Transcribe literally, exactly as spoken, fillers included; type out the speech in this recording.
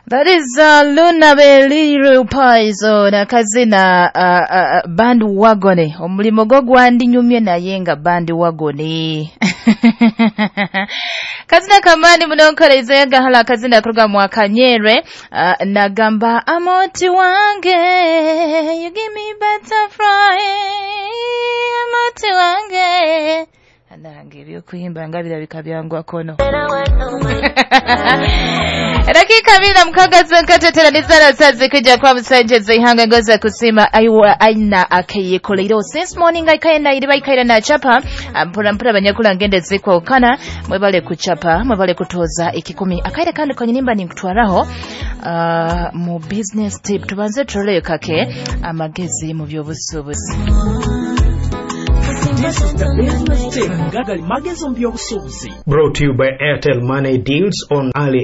That is uh, Luna Beliru Paizo nakazina uh, uh, bandwagon. Omulimo gwo gwandinyumye naye nga bandwagon. Kazina kamani munonkoreize gahala kazina kuruga mwakanyerwe uh, nagamba amoti wange, you give me butterfly, amoti wange. Nange ebyokuyimba nga birabika byangwakono. Dakika abiri na mukaaga zonka teteranizana sazi kujja kwa musanje zeihanga ngoza kusima aiwa aina akeyekoleiro since morning aikaye iri baikaira na chapa mpura mpura banyakula ngende zikwokana mwebale kuchapa, mwebale kutoza ekikumi akaire kandi konyinimba ninkutwaraho uh, mu business tip. Tubanze turole kake amagezi mu by'obusuubuzi. This is the business tip. Gagali magezi mu by'obusuubuzi. Brought to you by Airtel Money Deals on Ali.